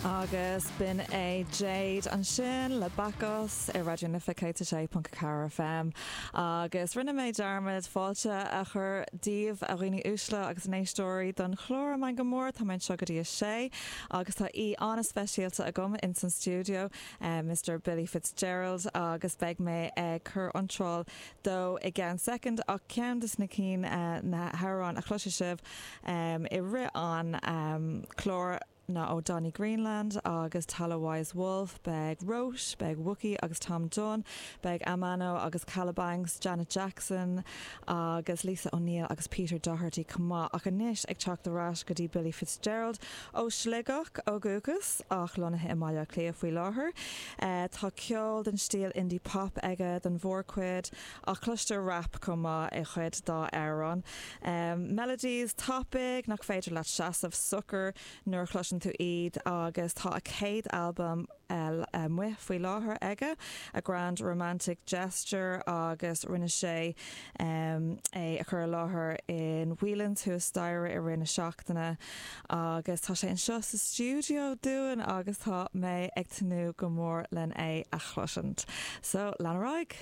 Agus b'in é Jade ansin le Bacchus ar Raidió na Life 106.4 FM. Agus rinne mé dearmad fáilte a chur daoibh, a dhaoine uaisle agus n-éisteoirí don chlár An Meangadh Mór. Tá mé anseo go dtí a sé agus tá aoi an-speisialta agam ins an stiúideo, Mr Billy Fitzgerald, agus beidh mé ag cur iontráil dó i gceann soicind ach ceann de na cinn, na hamhráin a chloisfidh sibh i rith an chláir ná ó Donny Greenland agus Tala Wise Wolf, beidh Róis, beidh Wuki agus Tom Dunne, beidh Amano agus Kalabanx, Janet Jackson agus Lisa O'Neill agus Peter Doherty chomh maith. Ach anois ag teacht ar ais go dtí Billy Fitzgerald ó Shligeach ó dhúchas ach lonnaithe i mBaile Átha Cliath faoi láthair. Tá ceol den stíl indie pop aige don mhórchuid ach cloistear rap chomh maith i chuid dá amhráin. Melodies tapaidh nach féidir leat seasamh socair nuair a chloiseann tú iad agus tá a chéad albam amuigh faoi láthair aige, A Grand Romantic Gesture agus rinne sé é a chur i láthair in Whelan's thuas staighre i rith na seachtaine agus tá sé anseo sa stiúideo dúinn agus tá mé ag tnúth go mór len é a chloisint. So, lean ar aghaidh!